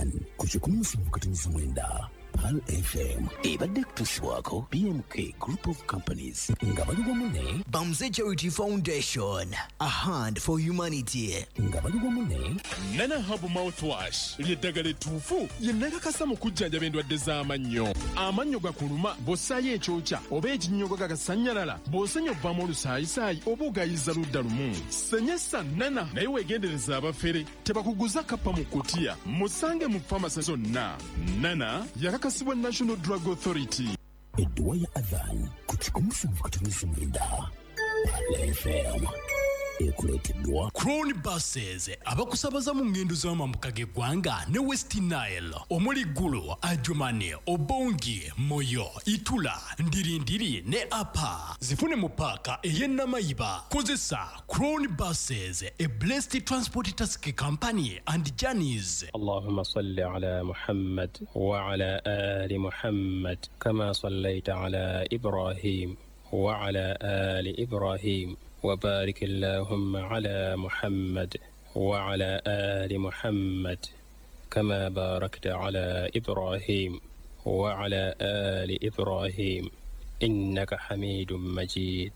Adhan ku 107.9 Pearl FM ebadde kutuusibwako BMK Group of Companies nga bali wamu ne Bamze Charity Foundation, a hand for humanity. Nga bali wamu ne Nana Herbal Mouthwash ly'eddagala ettuufu lye nakakasa mu kujjanjaba endwadde z'amannyo. Amannyo gakuluma bw'ossaayo ekyokya oba ekinnyogo gagasannyalala, bw'osenya ovaamu olusaayisaayi oba ogayiza ludda lumu. Senyesa Nana naye weegendereza abafere tebakuguza kappa mu kutiya. Musange mu famasi zonna. Nana yakakasibwa National Drug Authority. Edduwa ya Adhan ku 107.9 Pearl FM ekuleeteddwa Crown Buses abakusabaza mu ngendo z'amambuka g'eggwanga ne West Nile omuli Gulu, Adjumani, Obongi, Moyo, Itula, Ndirindiri ne Apa. Zifune mu paaka ey'e Namayiba. Kozesa Crown Buses, a blessed transport taxi company and journeys. اللهم صل على محمد وعلى آل محمد كما صليت على إبراهيم وعلى آل إبراهيم وبارك اللهم على محمد وعلى آل محمد كما باركت على إبراهيم وعلى آل إبراهيم إنك حميد مجيد.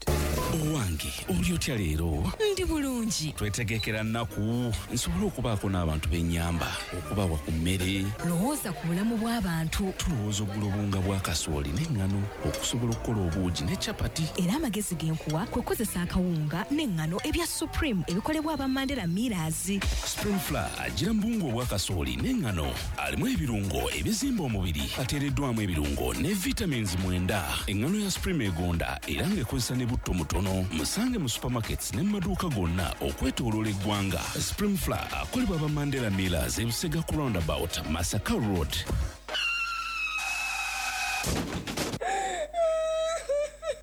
Owange, oli otya leero? Ndi bulungi. Twetegekera nnaku nsobole okubaako n'abantu b'ennyamba okubawa ku mmere. Lowooza ku bulamu bw'abantu. Tulowooza okugula obuwunga bwa kasooli n'eŋŋano okusobola okukola obuugi ne capati. Era amagezi ge nkuwa kwe kukozesa akawunga n'eŋŋano ebya Supreme ebikolebwa aba Mandela Millers. Supreme Flour agira mu buwunga obwa kasooli n'eŋŋano, alimu ebirungo ebizimba omubiri, ateereddwamu ebirungo ne vitamins 9. Eŋŋano ya Supreme egonda era ng'ekozesa ne butto mutono. Musange mu supermarkets ne mu maduuka gonna okwetooloola eggwanga. Supreme Flour akolebwa aba Mandela Millers, Ebusega ku roundabout, Masaka Road.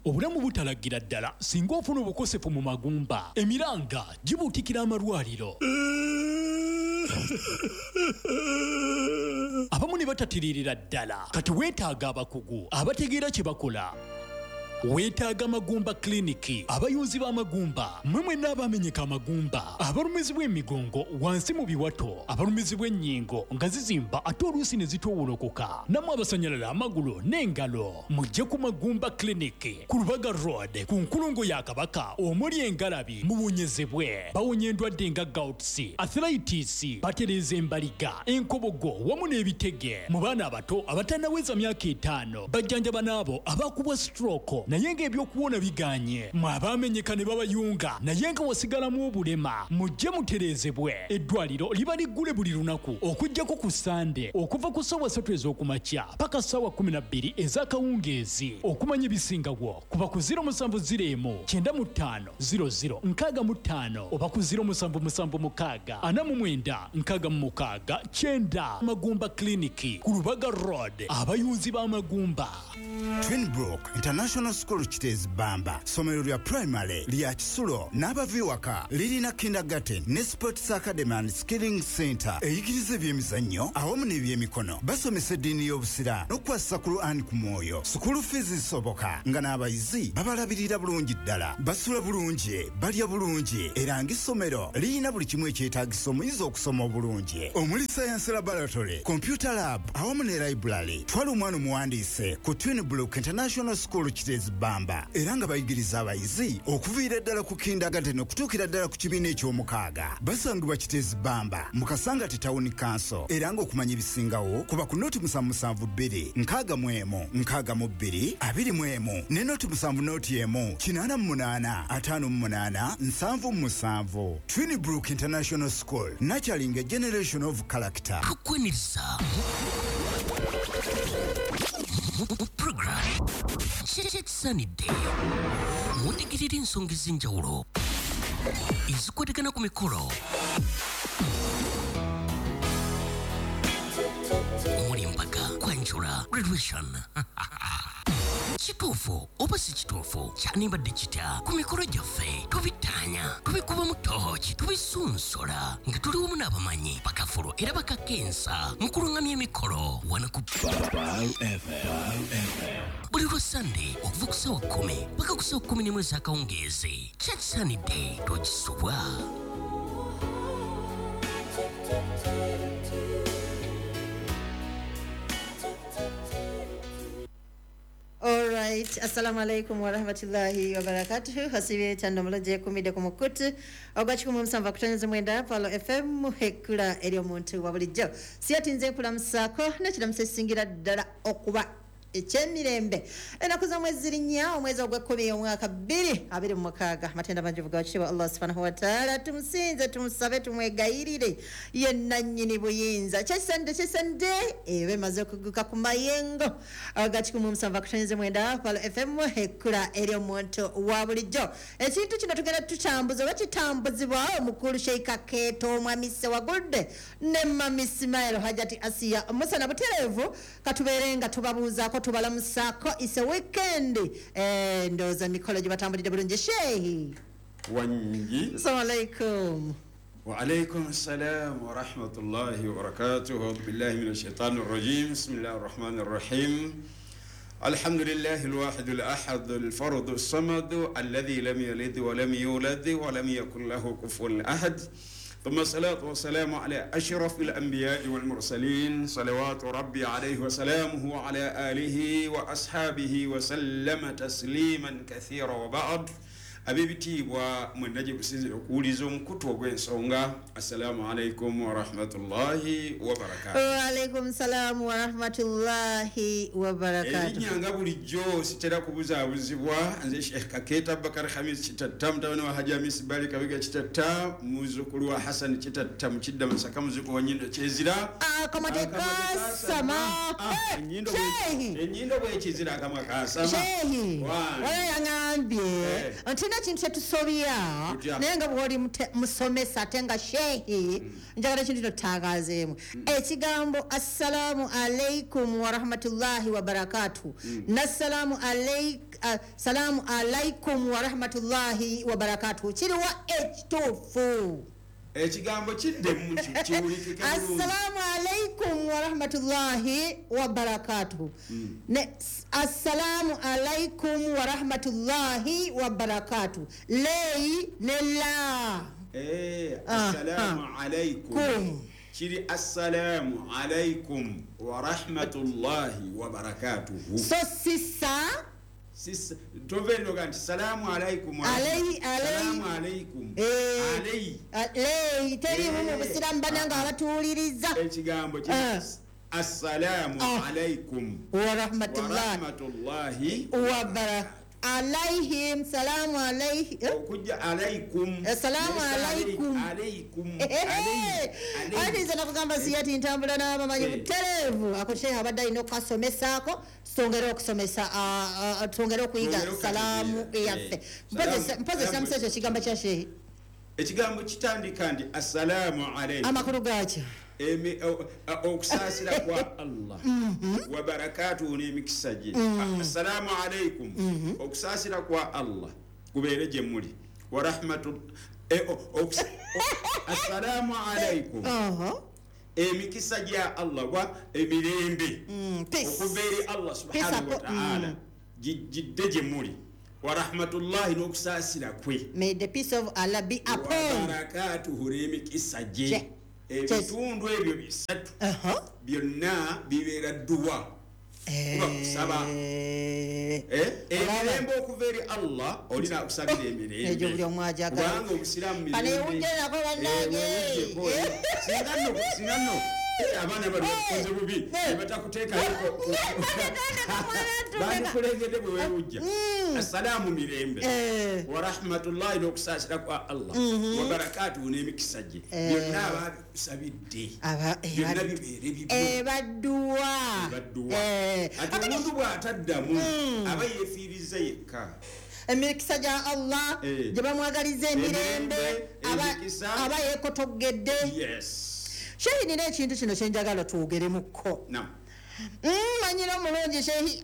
Obulamu butalagira ddala singa ofuna obukosefu mu magumba. Emiranga gibuutikira amalwaliro, abamu ne batatiririra ddala. Kati weetaaga abakugu abategeera kye bakola. Weetaaga Magumba Clinic, abayunzi b'amagumba. Mmwe mwenna abamenyeka amagumba, abalumizibwa emigongo wansi mu biwato, abalumizibwa ennyingo nga zizimba ate oluusi ne zitoowolokoka, nammwe abasanyalala amagulu n'engalo, mujje ku Magumba Clinic ku Lubaga Road ku nkulungo ya Kabaka omuli engalabi, muwonyezebwe. Bawonya endwadde nga gouts, arthritis, batereeza embaliga, enkobogo wamu n'ebitege. Mu baana abato abatannaweza myaka 5 bajjanjaba n'abo abakubwa stroke naye ng'ebyokuwona biganye. Mwe abaamenyeka ne babayunga naye nga wasigalamu obulema, mujje mutereezebwe. Eddwaliro liba liggule buli lunaku okuggyako ku Sande okuva ku ssaawa 3 ez'okumakya paka ssaawa 12 ez'akawungeezi. Okumanya ebisingawo kuba ku 0701 95 00 65 oba ku 0776 49 66 9. Magumba Clinic ku Lubaga Road, abayunzi b'amagumba. Twinbrook International School Kiteezi Bamba, ssomero lya primary lya kisulo n'abava ewaka. Lirina kindergarten ne sports academy and skilling center eyigiriza ebyemizannyo awamu n'ebyemikono. Basomesa eddiini y'Obusiraamu n'okukwasisa Quran ku mwoyo. School fees zisoboka nga n'abayizi babalabirira bulungi ddala, basula bulungi, balya bulungi, era ng'essomero lirina buli kimu ekyetaagisa omuyizi okusoma obulungi, omuli science laboratory, computer lab awamu ne library. Twala omwana omuwandiise ku Twinbrook International School Kiteezi Bamba, era nga bayigiriza abayizi okuviira ddala ku kindergarten okutuukira ddala ku kibiina eky'omukaaga. Basangibwa Kiteezi Bamba mu Kasangati Town Council, era ng'okumanya ebisingawo kuba ku 072 61 62 21 ne 071 88 58 77. Twinbrook International School, nurturing a generation of character. Tukwaniriza program Kyekisaanidde, mutegerera ensonga ez'enjawulo ezikwatagana ku mikolo omuli embaga, kwanjula, graduation. Kituufu oba si kituufu, kyanibadde kitya? Ku mikolo gyaffe tubittaanya, tubikubamu tooki, tubisunsola nga tuli wamu n'abamanyi bakafulu era bakakensa mu kulungamya emikolo wano ku buli lwa Sande okuva ku ssaawa 10 paka ku ssaawa 11 ez'akawungeezi. Kyekisaanidde, tokisubwa. Alright, assalamu alaikum warahmatullahi wabarakatuh. Hasibe tando muloje kumide ku mukutu ogwa 107.9 Palo FM hekula eri omuntu wa bulijjo. Siyatinze kulamusaako n'ekiramuso ekisingira ddala okuba ekyemirembe. Ennaku z'omwezi ziri nnya, omwezi ogw'ekkumi omwaka 2026. Amatenda mangi ga kitiibwa Allah subhanahu wa ta'ala. Tumusinze, tumusabe, tumwegayirire ye nannyini buyinza. Kyesande kyesande ebe emaze okuguka ku mayengo aga 107.9 Palo FM hekula eri omuntu wa bulijjo. Ekintu kino tugenda tutambuza oba kitambuzibwa omukulu Sheikh Kakeeto Omwami Ssewagudde ne Mami Ismail Hajati Asiya Musa butereevu. Katubeere nga tubabuuzaako tubalamusaako. It's a weekend. Ndowooza mikolo gye batambulidde bulungi. Shehi wangi, assalamu alaikum. وعليكم السلام ورحمة الله وبركاته. أعوذ بالله من الشيطان الرجيم. بسم الله الرحمن الرحيم. الحمد لله الواحد الأحد الفرد الصمد الذي لم يلد ولم يولد ولم يكن له كفوا أحد. ثم الصلاة والسلام على أشرف الأنبياء والمرسلين صلوات ربي عليه وسلامه وعلى آله وأصحابه وسلم تسليما كثيرا وبعد. Ab'ebitiibwa mwenna gye businzira okuwuliza omukutu ogw'ensonga, assalamu alaikum warahmatullahi wabarakatuh. Waalaikum salaamu warahmatullahi wabarakatuh. Erinnya nga bulijjo sitera kubuzaabuzibwa, nze Sheikh Kakeeto Abubakar Hamis Kitatta, mutabani wa Haji Hamis Bali Kabiga Kitatta, muzzukulu wa Hassan Kitatta Mukidda Masaka, muzzukulu wa Nnyindo Kyezira. Akamwa tekasama. Ennyindo bwekizira akamwa kasama. Shehi wala yaŋambye nti ekintu kyetusobya naye nga bw'oli musomesa ate nga shehi, njagala ekintu kino tutangaazeemu. Ekigambo assalaamu alaikum warahmatullahi wabarakatuh n'assalaamu salaamu alaikum warahmatullahi wabarakatuh kiriwa ekituufu? Ekigambo kiddemu kiwulikike bulungi. Assalaamu alaikum warahmatullahi wabarakatuh ne assalaamu alaikum warahmatullahi wabarakatuh, leyi ne la. Assalaamu alaikum kiri assalaamu alaikum warahmatullahi wabarakatuhu. So sisa sisa tovenoga nti salaamu alaikum, salaamu alaikum, alei alei teriimu mu busiraamu. Bannange abatuwuliriza, ekigambo kiri assalaamu alaikum warahmatullahi wabarakatuh. Alaihim salamu alaihi okujja alaikum salaamu alaikum alaikum. Ati nze nakugamba siyati ntambula n'abamanyi butereevu. Ako shehe abadde alina okukasomesaako, twongere okusomesa, twongere okuyiga salaamu eyaffe. Mpozi ekiramuso ekyo ekigambo kya shehe, ekigambo kitandika nti assalaamu alaikum, amakulu gaakyo okusaasira kwa Allah wa barakatuhu n'emikisa gye. Assalaamu alaikum, okusaasira kwa Allah kubeere gye muli, wa rahmatu. Assalaamu alaikum, emikisa gya Allah wa emirembe okuva eri Allah subhanahu wa ta'ala gidde gye muli, wa rahmatullahi n'okusaasira kwe. May the peace of Allah be upon wa barakatuhu n'emikisa gye. Ebitundu ebyo bisatu byonna bibeera dduwa, kuba kusaba emirembe okuva eri Allah, olina okusabira emirembe kubanga obusiraamu mirembe. Singa nno abaana bali bakukoze bubi ne batakuteekayo, bandikulengedde bwe weewujja. Assalaamu mirembe, wa rahmatullahi n'okusaasira kwa Allah, wa barakatuhu n'emikisa gye, byonna ababikusabidde byonna bibeere bibyo. Ebadduwa. Ati omuntu bw'ataddamu aba yeefiiriza yekka. Emikisa gya Allah gye bamwagaliza emirembe aba yeekotogedde. Shehi, nina ekintu kino kyenjagala twogeremukko. Manyira omulungi Shehi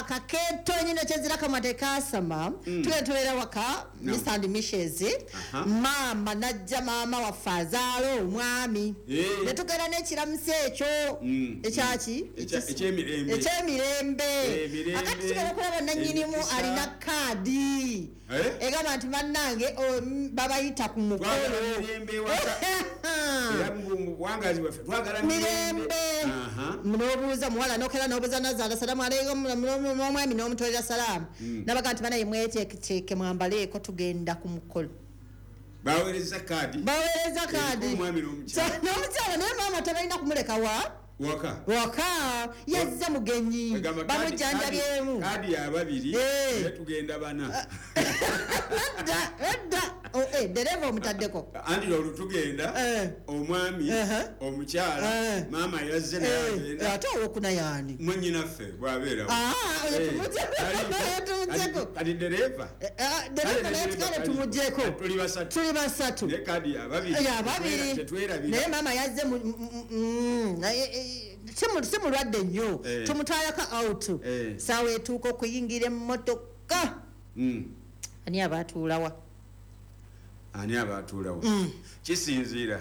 Kakeeto nyina Kyezira kamwa tekasama. Tugenda tubeera waka Mr and Mrs. Maama najja, maama waffe azaala omwami, ne tugenda n'ekiramuso ekyo ekyaki ekyemirembe. Akati tugenda okulaba nannyinimu alina kaadi egamba nti bannange babayita ku mukolo mirembe. N'obuuza muwala nokera n'obuuza nazaala salaamu aleikum, n'omwami n'omutolera salaamu. Nabaga nti banaye mweteeketeeke, mwambaleeko, tugenda ku mukolo. Baweereza kaadi. Baweereza kaadi. Omwami n'omukyala. N'omukyala, naye maama tebalina kumuleka wa waka. Waka yazza mugenyi. Egamba bamujjanjabyemu. Kaadi yababiri, naye tugenda bana. Edda edda. Oh, dereva omutaddeko. Anti olwo tugenda omwami, omukyala, maama yazze naye agenda. Ate owokuna yaani? Mwannyinaffe bw'abeerawo. Ah, oyo tumuggyeko. Kati dereva. Dereva naye kale tumuggyeko. Tuli basatu. Tuli basatu. Naye kaadi yababiri. Yababiri. Tetwerabira. Naye maama yazze naye si mulwadde nnyo. Tumutwalako out. Saawa etuuka okuyingira emmotoka. Ani aba atuulawa? Ani aba atuulawo? Kisinziira.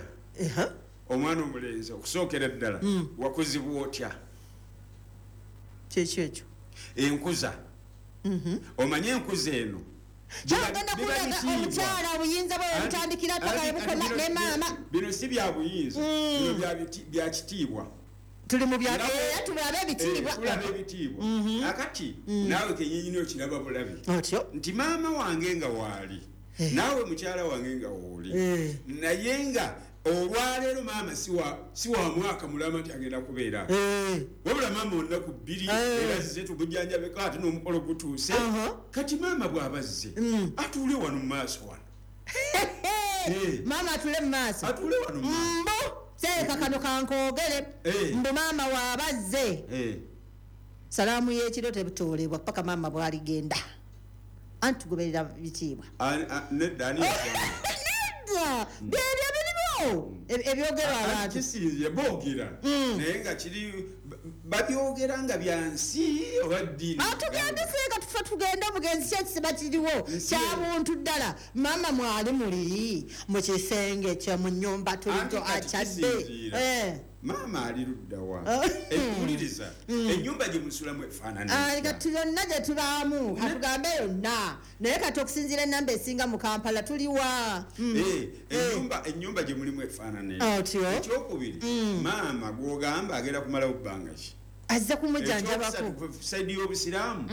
Omwana omulenzi, okusookera ddala, wakuzibwa otya? Kyekyo ekyo. Enkuza. Omanye enkuza eno. Kyagenda Biba kulaga bitiibwa. omukyala obuyinza bwe butandikira paka webukoma ne maama. Bino si bya buyinza, bino bya kitiibwa. Tuli mu bya era tulabe ebitiibwa. Tulaba ebitiibwa. Akati naawe kennyini okiraba bulabi. Otyo. Nti maama wange nga waali, naawe mukyala wange nga wooli, naye nga olwaleero maama si wa mwaka mulama nti agenda kubeera. Wabula maama olunaku 2 era azze tumujjanjabeko, ate n'omukolo gutuuse. Kati maama bw'aba azze, atuule wano mu maaso wano. Maama atuule mu maaso. Atuule wano mu maaso. Mbu seeka kano kankoogere. Mbu maama bw'aba azze, salaamu y'ekiro tebutoolebwa paka maama bw'aligenda. Anti tugoberera bitiibwa. Nedda, ani yagamba? Nedda, byebyo biriwo ebyogerwa abantu. Kisinziira boogera, naye nga kiri babyogera nga bya nsi oba ddiini. Tugende seeka, tufe tugende omugenzi, ki ekisiba kiriwo kya buntu ddala. Maama mwali muli mu kisenge kye mu nnyumba tulinto Anti kati akyadde. kisinziira. Maama ali ludda wa? Wuliriza, ennyumba gye musulamu efaanana etya? Kati yonna gye tubaamu, katugambe yonna, naye kati okusinziira ennamba esinga mu Kampala tuliwa? Ennyumba gye mulimu efaanana etya? Otyo. Ekyokubiri, maama gw'ogamba agenda kumalawo bbanga ki? Azze kumujjanjabako. Ekyokusatu, ku sayidi y'obusiraamu,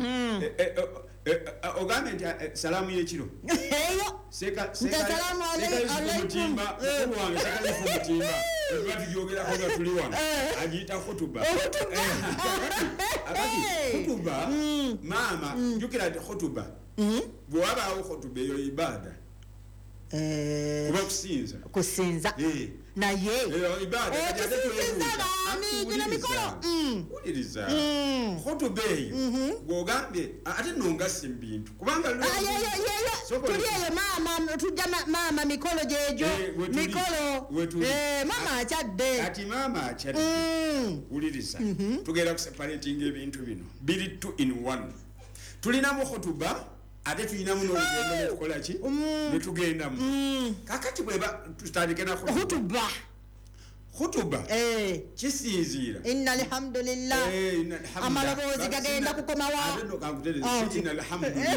ogambye nti salaamu y'ekiro. Eyo. Nti assalaamu Seka Yusufu alaikum. Mutimba, mukulu wange Seka Yusufu Mutimba, tuba tugyogerako nga tuli wano, agiyita khutuba. Khutuba. Akati khutuba, maama, jjukira nti khutuba, bwe wabaawo khutuba eyo ibaada. Kuba kusinza. Kusinza. Naye. Ibaada, kati ate Okusinziza twebuuza. baani? Anti Gino mikolo. Wuliriza. Khutuba eyo, gw'ogambye, ate nno ngasse mu bintu. Kubanga Ah, ye, ye, ye, ye. Soko Tuli eyo maama, tujja maama mikolo gyegyo. Wetuli. Mikolo. Wetuli. Maama akyadde. Kati maama akyadde. Wuliriza. Tugenda kuseparatinga ebintu bino. Biri 2 in 1. Tulinamu khutuba, ate tulinamu n'olugendo ne tukola ki? Ne tugendamu. Kaakati bweba tutandike na khutuba. Khutuba. Khutuba. Kisinziira. Inna alhamdulillah. Inna alhamdulillah. Amaloboozi gagenda kukomawa. Ate nno kankutereeze, Oh. si inna alhamdulillah.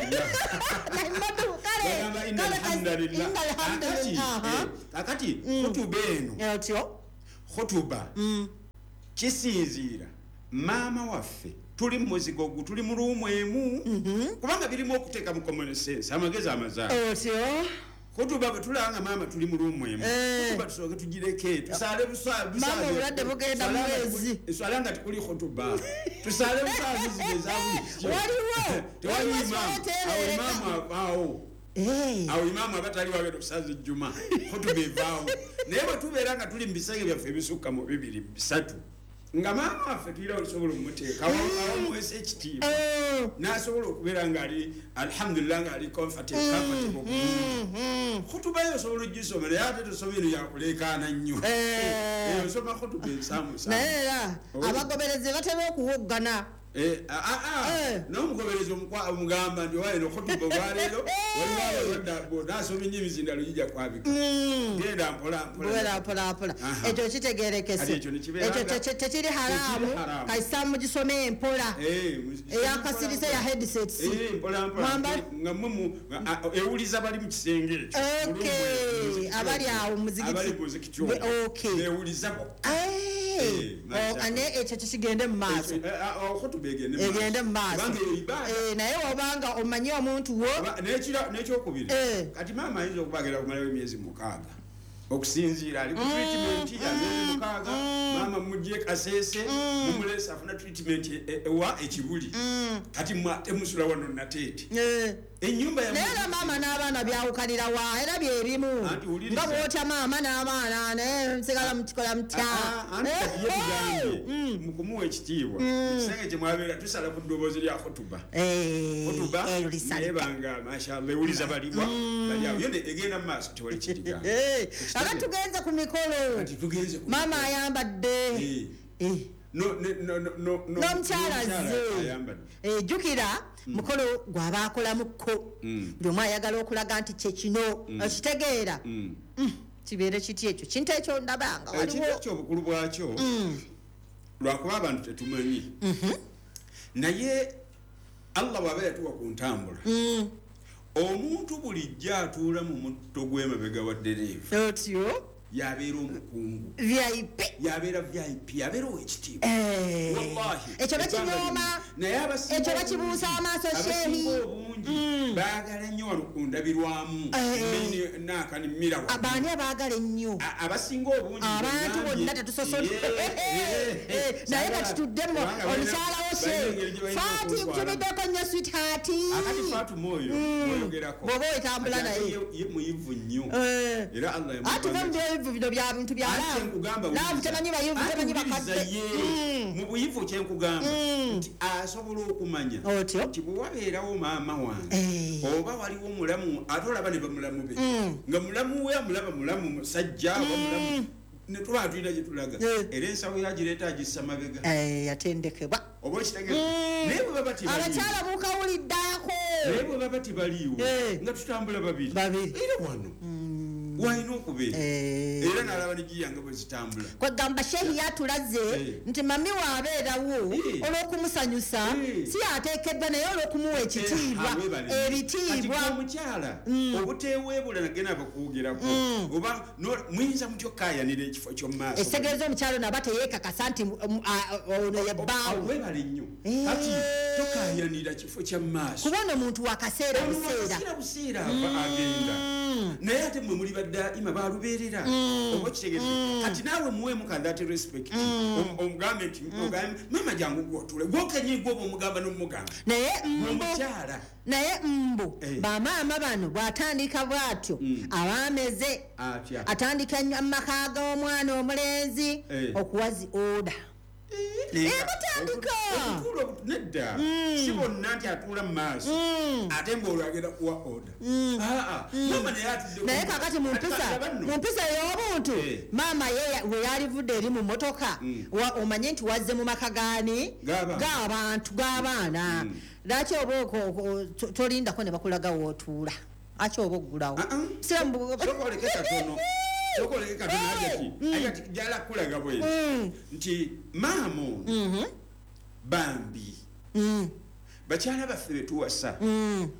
Nahmadu, kale. Bagamba inna Kale, alhamdulillah. inna alhamdulillah. Kakati, khutuba eno. Otyo. Khutuba. Kisinziira. Maama waffe tuli mu muzigo gu, tuli mu ruumu emu. Kubanga birimu okuteeka mu common sense, amagezi amazaala. Otyo. Khutuba bwe tulaba nga maama tuli mu ruumu emu. Khutuba tusooke tugireke, tusaale Maama obulwadde bugenda Swala nga mwezi. swala nga tekuli khutuba. Tusaale busaazi zino eza bulijjo. Waliwo. Tewali Waliwo imaamu. swala Awo teebereka. imaamu avaawo. Awo imaamu aba tali wagenda okusaaza ejjuma. Khutuba evaawo. Naye bwe tubeera nga tuli mu bisenge byaffe ebisukka mu 2, 3, nga maama waffe tulina olusobola omumuteeka, awo amuweesa ekitiibwa. N'asobola okubeera ng'ali, alhamdulillah, ng'ali comfortable bulungi. Khutuba yo osobola ogisoma, naye ate tosoma eno yakuleekaana nnyo. Osoma khutuba ensaamusaamu. Naye era abagoberezi batera okuwoggana. N'omugoberezi omugamba nti owa eno khutuba olwaleero, waliwo abalwadde bw'onaasoma ennyo emizindalo gijja kwabika. Genda mpola mpola. Mpola mpola mpola. Ekyo kitegeerekese. Kati ekyo ne kibeera Ekyo nga tekiri haraamu. Tekiri haraamu. Kasita mugisome mpola. Eyakasirise ya headsets. Mpola mpola. Mwamba- Nga mmwe nga, ewuliza bali mu kisenge ekyo. Okay. Mu lumu Abali awo mu muzikiti. Abali mu muzikiti ogwo. Okay. Beewuliza bokka. Ane ekyo kigende mu maaso. Egende mu maaso. Naye obanga omanyi omuntu wo n'ekyokubiri kati maama ayinza okubagera okumalayo emyezi 6 okusinziira ali ku treatment ya myezi 6 maama mujje Kasese mumulesa afuna treatment ewa ekibuli kati temusula wano Nateete ennyumba ya naye maama n'abaana byawukanira wa era byebimu nga bw'otya maama n'abaana naye nsigala mukikola mutya mu kumuwa ekitiibwa ekisenge kye mwabeera tusala ku ddoboozi lya khutuba khutuba naye banga mashallah ewuliza balibwa bali awo yonde egenda mu maaso tewali kidigamba. Aka tugenze ku mikolo maama ayambadde n'omukyala azze jjukira mukolo gw'abaakolamuko buli omu ayagala okulaga nti kye kino okitegeera kibeere kiti ekyo kintu ekyo ndabanga waliwo ekintu ekyo obukulu bwakyo lwakuba abantu tetumanyi naye Allah bw'aba yatuwa ku ntambula omuntu bulijjo atuula mu mutto gw'emabega wa ddereeva otyo yabeera omukungu VIP yabeera VIP yabeera ow'ekitiibwa wallahi ekyo bakinyooma ekyo bakibuusa amaaso shehi obungi baagala nnyo wano ku ndabirwamu naakanimira baani abaagala ennyo abasinga obungi abantu bonna tetusosola naye kati tuddemu omukyala wo shehi Faati nkutumiddeko nnyo sweetheart akati Fatuma oyo oyogerako bw'oba wetambula naye ye muyivu nnyo era Allah atuve bino bya bintu bya laavu temanyi bayivu temanyi bakadde mu buyivu kyenkugamba nti asobola okumanya nti bwe wabeerawo maama wange oba waliwo mulamu ate olaba ne bamulamu be nga mulamu we amulaba mulamu musajja oba mulamu ne tuba tulina gye tulaga era ensawo yagireeta agissa mabega yatendekebwa oba okitegeera naye bwe baba tebaliiwo abakyala mukawuliddaako naye bwe baba tebaliiwo nga tutambula babiri era wano walina okubeera era n'alaba ne giyanga bwe zitambula kwegamba shehi yatulaze nti mami waabeerawo olw'okumusanyusa si yateekeddwa naye olw'okumuwa ekitiibwa ebitiibwa omukyala obuteeweebula nagenda bakwogerako oba muyinza mutya okukaayanira ekifo ky'omu maaso ekitegeeza omukyala ono aba teyeekakasa nti ono ye bbaawo webale nnyo kati tokaayanira kifo kya mu maaso kuba ono muntu wakaseera buseera ava agenda naye ate mmwe muli baddaima balubeerera oba okitegeeza kati naawe muweemu that respect omugambe nti maama jangu gwotule gwokenyi gwoba omugamba n'omugamba naye omukyala naye mbu bamaama bano bw'atandika bw'atyo abaameze atandika amaka g'omwana omulenzi okuwa zi oda Emutandika nedda si bonna nti atuula mu maaso ate ng'olwo agenda kuwa oda maama naye atudde naye kakati mu mpisa ey'obuntu maama ye we yalivudde eri mu mmotoka omanye nti wazze mu maka gaani g'abantu g'abaana lwaki oba tolindako ne bakulaga w'otuula aki oba oggulawo sokoleke katono sokoleke katono ajati jala kulaga bwe nti maama ono bambi bakyala baffe betuwasa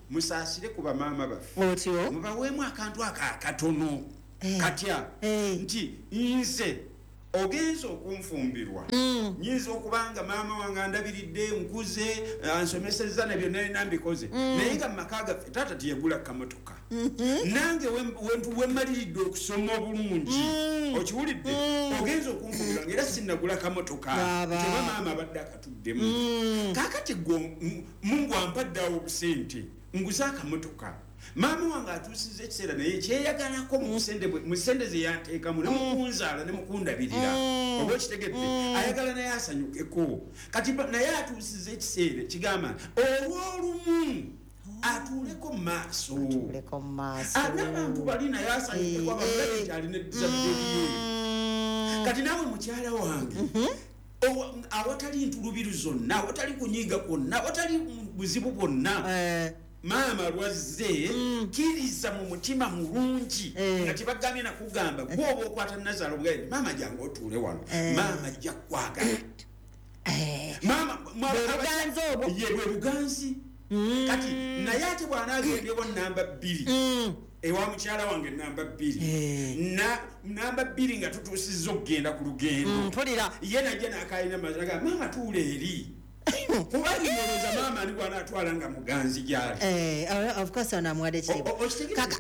musaasire ku bamaama baffe mubaweemu akantu ako akatono katya nti nze ogenza okunfumbirwa nyinza okubanga maama wange andabiridde nkuze ansomesezza ne byonna nina mbikoze naye nga mu maka gaffe taata teyagula kamotoka nange wemmaliridde okusoma obulungi okiwulidde ogenza okunfumbirwa nga era sinnagula kamotoka teba maama abadde akatuddemu kaakati gwe Mungu ampadde awo obusente nguze akamotoka maama wange atuusiza ekiseera naye kyeyagalako mu ssente ze yanteekamu ne mukunzaala ne mukundabirira oba okitegedde ayagala naye asanyukeko kati naye atuusiza ekiseera kigamba olw'olumu atuuleko mu maaso n'abantu bali naye asanyukeko abamulabe nti alina ezzadde lye kati naawe mukyala wange awatali ntulubiru zonna awatali kunyiiga kwonna awatali buzibu bwonna maama lwazze kkiriza mu mutima mulungi nga tebagambye nakugamba gwoba okwata nazaala obugaye maama jangu otuule wano maama ajja kukwagala ye bwe buganzi kati naye ate bw'anaagendewa namba 2 Ewa mukyala wange namba 2. Namba 2 nga tutuusizza okugenda ku lugendo. Mpulira. Ye najja n'akaalina mazzi, maama tuula eri. Kuba ndowooza maama ani gw'anaatwala nga muganzi gy'ali. Of course ono amuwadde ekitiibwa.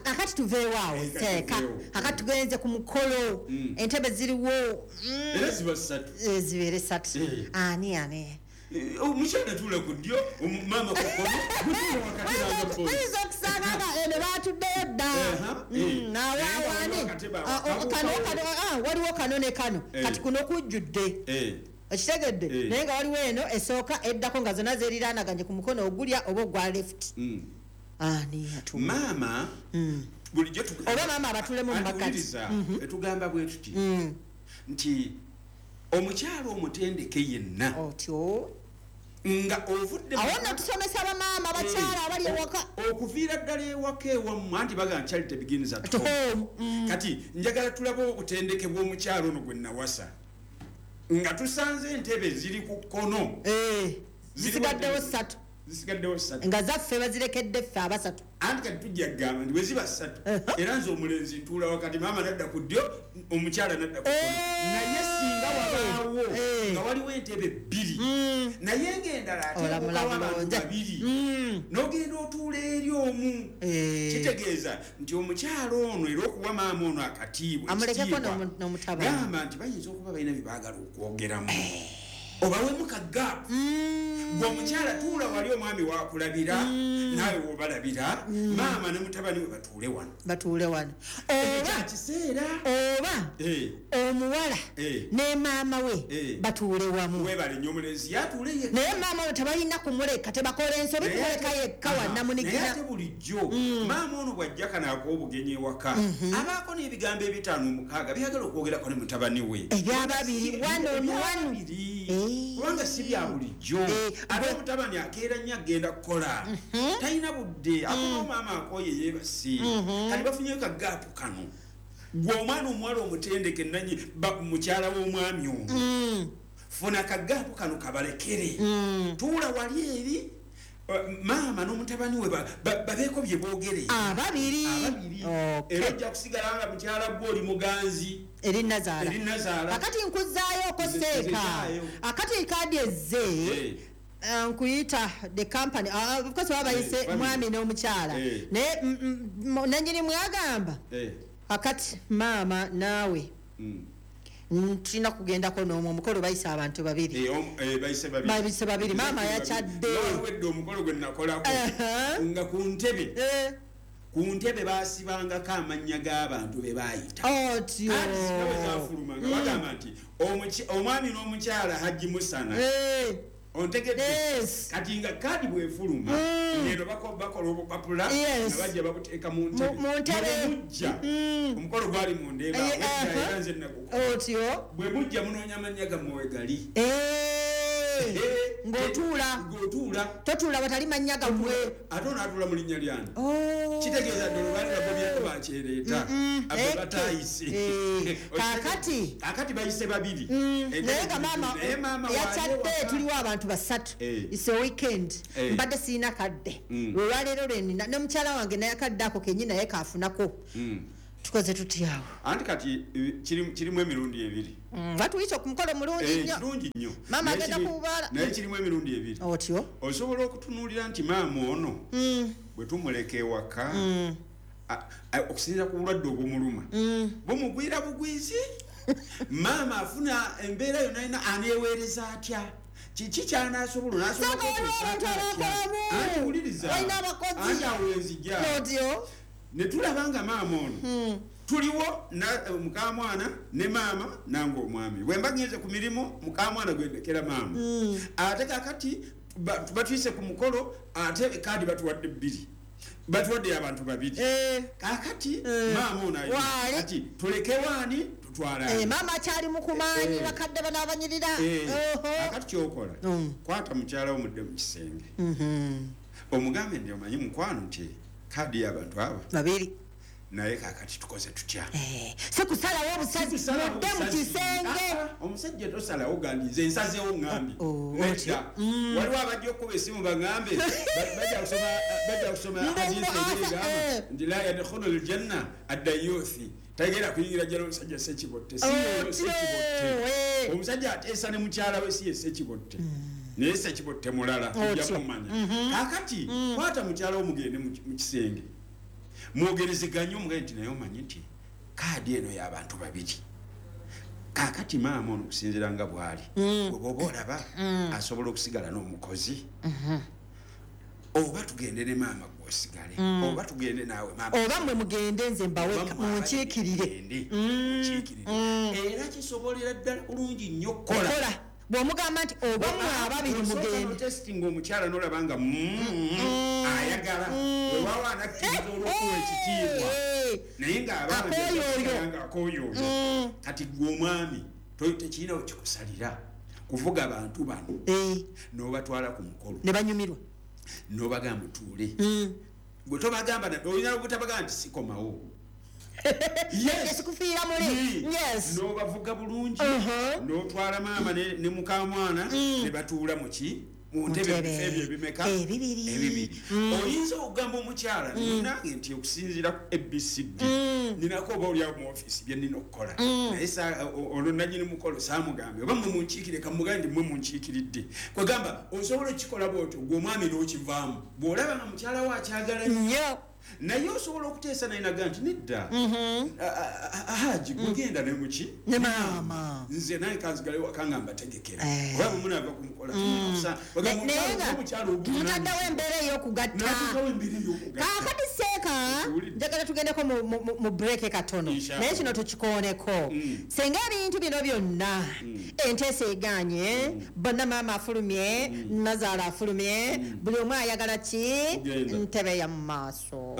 Kakati tuveewo awo seeka. Kakati tugenze ku mukolo. Entebe ziriwo. Era ziba 3. Zibeere 3. Ani? Omukyala tuula ku ddyo, maama ku kkono, gutuula wakati n'aga. Oyinza okusanga nga eno baatuddeyo dda. Awaani? Kano, waliwo kano ne kano. Kati kuno kujjudde. Okitegedde? Naye nga waliwo eno esooka eddako nga zonna zeeriraanaganye ku mukono ogulya oba ogwa left. Ani atuula? Maama bulijjo oba maama abatulemu mu makkati. Etugamba bwe tuti nti omukyala omutendeke yenna otyo nga ovudde awo nno tusomesa bamaama abakyala abali ewaka okuviira ddala ewaka ewammwe, anti bagamba charity begins at home. Kati njagala tulabe obutendeke bw'omukyala ono gwe nawasa nga tusanze entebe ziri ku kkono, zisigaddewo 3, zisigaddewo 3 nga zaffe bazirekedde ffe abasatu. Anti kati tujja kugamba nti bwe ziba 3 era nze omulenzi ntuula wakati, maama nadda ku ddyo, omukyala nadda ku kkono. Naye singa wabaawo nga waliwo entebe 2 naye ng'endala ateekawo abantu 2 n'ogenda otuula eri omu, kitegeeza nti omukyala ono era okuwa maama ono akatiibwa amulekeko n'omutabani, gamba nti bayinza okuba balina bye baagala okwogeramu, obawemu ka gap. Gwe omukyala tuula wali omwami wakulabira, naawe wobalabira, maama ne mutabani we batuule wano. Batuule wano. Oba kiseera oba omuwala ne maama we batuule wamu. Webale nnyo, omulenzi yatuule yekka. Naye maama we tebalina kumuleka, tebakola ensobi kumuleka yekka wannamunigina. Naye ate bulijjo maama ono bw'ajja kano ak'obugenyi ewaka abaako n'ebigambo 5 6 byagala okwogerako ne mutabani we. Ebyababiri, one on one. Kubanga si bya bulijjo. Ate omutabani akeera nnyo agenda kukola, talina budde, akoma maama akooye yeebase. Kati bafunyeyo ka gaapu kano. Gwe omwana omuwala omutendeke nanyi mukyala w'omwami ono, funa ka gaapu kano kabalekere. Tuula wali eri maama n'omutabani we babeeko bye boogere ababiri. Era ojja kusigala nga mukyala gwe oli muganzi eri Nazaala. Akati nkuzaayo ko seeka. Akati kaadi ezze nkuyita the company, of course baba bayise mwami n'omukyala, naye nannyini mwagamba akati maama naawe tulina kugendako n'omwo omukolo bayise abantu babiri. Bayise babiri, maama yakyadde. Wawedde omukolo gwe nakolako nga ku ntebe ku ntebe baasibangako amannya g'abantu be baayita. Otyo. Ate zaafuluma nga bagamba nti omwami n'omukyala Hajji Musana. Ontegedde? Kati nga kaadi bw'efuluma ng'eno bakola obupapula nga bajja babuteeka mu ntebe. Mu ntebe. Omukolo gwali mu Ndeeba, era nze nagukola. Otyo. Bwe mujja munoonya amannya gammwe we gali. Ng'otuula. Totuula watali mannya gammwe. Ate ono atuula mu linnya lyani? Kitegeeza ddala baali bagobyeko bakyereeta. Abo bataayise. Kakati bayise babiri. Naye nga maama yakyadde, tuliwo abantu 3. It's a weekend. Mbadde sirina kadde. Olwaleero lwe nnina ne mukyala wange naye akadde ako kennyini naye kaafunako. Tukoze tutya awo? Anti kati kirimu emirundi 2. Batuyise ku mukolo mulungi nnyo. Kirungi nnyo. Maama agenda kubaala. Naye kirimu emirundi 2. Otyo. Osobola okutunuulira nti maama ono bwe tumuleka ewaka okusinziira ku bulwadde obumuluma bumugwira bugwizi. Maama afuna embeera yonna yonna aneeweereza atya? Kiki ky'anaasobola? Anti wuliriza. Anti awo enzija. Otyo. Ne tulaba nga maama ono tuliwo mukamwana ne maama nange omwami. Bwe mba ngenze ku mirimu mukamwana gwe ndekera maama. Ate kakati batuyise ku mukolo ate kaadi batuwadde 2. Batuwadde abantu 2. Kakati maama ono kati tuleke waani tutwala. Maama akyali mu kumaanyi, bakadde bano abanyirira. Kakati ky'okola kwata mukyala wo mudde mu kisenge. Omugambe nti omanyi mukwano nti kaadi y'abantu abo 2. Naye kakati tukoze tutya? Si kusalawo obusazi, mudde mu kisenge. Omusajja tosalawo gandi nze nsazeewo ŋŋambye. Nedda. Waliwo abajja okukuba essimu baŋŋambe, bajja kusoma hadiisi egamba nti la yadkhulu ljanna addayuthi, tagenda kuyingira jjana omusajja Ssekibotte. Si Ssekibotte. Omusajja ateesa ne mukyala we, si ye Ssekibotte, naye Ssekibotte mulala, ojja kumanya. Kakati kwata mukyala wo mugende mu kisenge mwogerezeganye, omugende nti naye omanyi nti kaadi eno y'abantu babiri. Kakati maama ono okusinziira nga bw'ali, bwe olaba asobola okusigala n'omukozi, oba tugende ne maama gwosigale, oba tugende naawe maama, oba mmwe mugende nze mbawe munkiikirire. Era kisobolera ddala bulungi nnyo okukola bw'omugamba nti oba mmwe ababiri mugende. Testing omukyala n'olaba nga ayagala, wewaawo anakkiriza olw'okuwa ekitiibwa, naye ng'abaana akooyoyo. Kati gwe omwami tekirina wekikusalira kuvuga abantu bano n'obatwala ku mukolo ne banyumirwa, n'obagamba mutuule. Gwe tobagamba, olina obutabagamba nti sikomawo, sikufiira muli. N'obavuga bulungi, n'otwala maama ne mukamwana ne batuula muki mu ntebe ebyo ebimeka ebibiri. Oyinza okugamba omukyala nange nti okusinziira ku ABCD ninako oba oliawo mu ofiisi bye nnina okukola, naye olwo nanyini mukolo saamugambe oba mwe munkiikire, kamugambe nti mwe munkiikiridde. Kwegamba osobola okukikola bwotyo gwe omwami n'okivaamu bw'olaba nga mukyala we akyagala nnyo, naye osobola okuteesa naye naga nti nedda, Haji gugenda ne muki ne maama, nze naye kanzigale waka nga mbategekera, oba bwe munaava ku mukola. Mutaddewo embeera ey'okugatta. Kaakati seeka njagala tugendeko mu break katono, naye kino tukikooneko. Senga ebintu bino byonna enteesa egaanye, bonna maama afulumye, nazaala afulumye, buli omu ayagala ki? Ntebe ya mu maaso.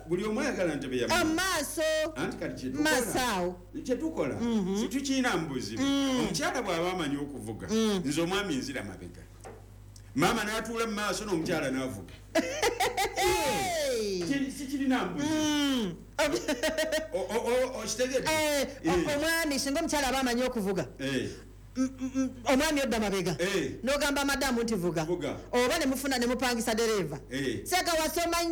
Buli omu ayagala ntebe ya maaso. Anti kati maaso kyetukola situkirina mu buzibu. Omukyala bw'aba amanyi okuvuga, nze omwami nzira mabega, maama n'atuula mu maaso n'omukyala n'avuga. Sikirina mu buzibu. Okitegedde? Omwami singa omukyala aba amanyi okuvuga, omwami odda mabega n'ogamba madamu nti vuga, oba ne mufuna ne mupangisa dereeva. Seeka wasoma.